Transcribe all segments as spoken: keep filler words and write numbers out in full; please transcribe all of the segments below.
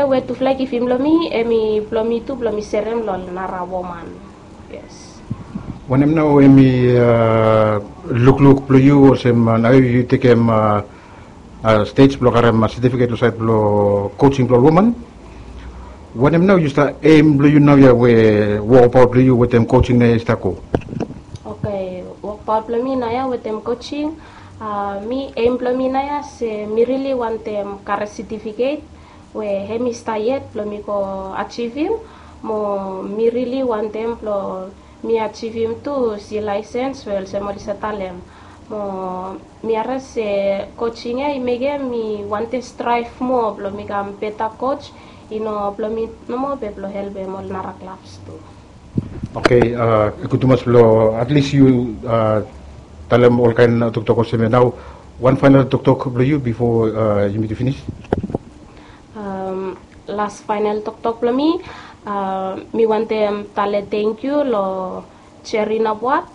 We tufala i givim long mi, hemi blong mi tu blong mi serem long nara woman. Yes. Wanem nao hemi lukluk blong yu olsem nao yu tekem stej blong karem setifiket long saed blong coaching blong ol woman? Wanem nao yu stap aim blong yu naoia we wokabaot blong yu wetem coaching naoia i stap go? Okay, wokabaot blong mi naoia wetem coaching, mi aim blong mi naoia se mi rili wantem karem setifiket we hemi stap yet blong mi go ajivim. Mo mi rili wantem blong mi ajivim tu C license we olsem oli save talem. Mo mi harem se coaching ya i mekem mi wantem strive moa blong mi kam beta coach, i no blong mi nomo be blong helpem ol nara klabs tu. Okay, gud tumas blong at least yu talem olkaen toktok olsem ya. Nao wan faenol toktok blong yu bifo yumi tu finis. Las faenol toktok blong mi, mi wantem talem tangkiu long Jerry Nabuat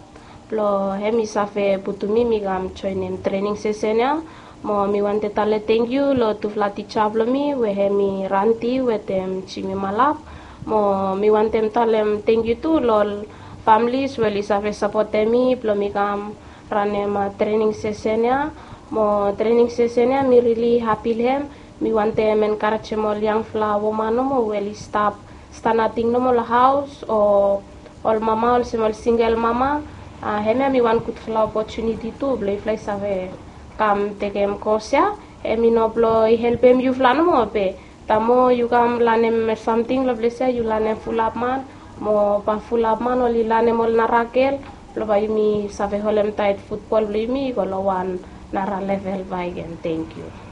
blong hemi save putum mi mi kam joenem trening sesen ya. Mo mi wantem talem tangkiu long tufala tija blong mi we hemi Ranti wetem Jimmy Malap. Mo mi wantem talem tangkiu tu long ol familis we oli save sapotem mi blong mi kam ranem trening sesen ya. Mo trening sesen ya mi rili hapi long hem. Mi wantem enkarejem ol yangfala woman nomo we oli stap stap nating nomo long haos o ol mama olsem ol singel mama. Hemia hemi wan gudfala opotuniti tu blong yufala i save kam tekem kos ya. Hemi no blong i helpem yufala nomo be taem moa yu kam lanem samting long ples ya yu lanem fulap man, mo bae fulap man oli lanem ol nara gel blong bae yumi save holemtaet futbol blong yumi i go long wan nara level bakegen. Tangkiu.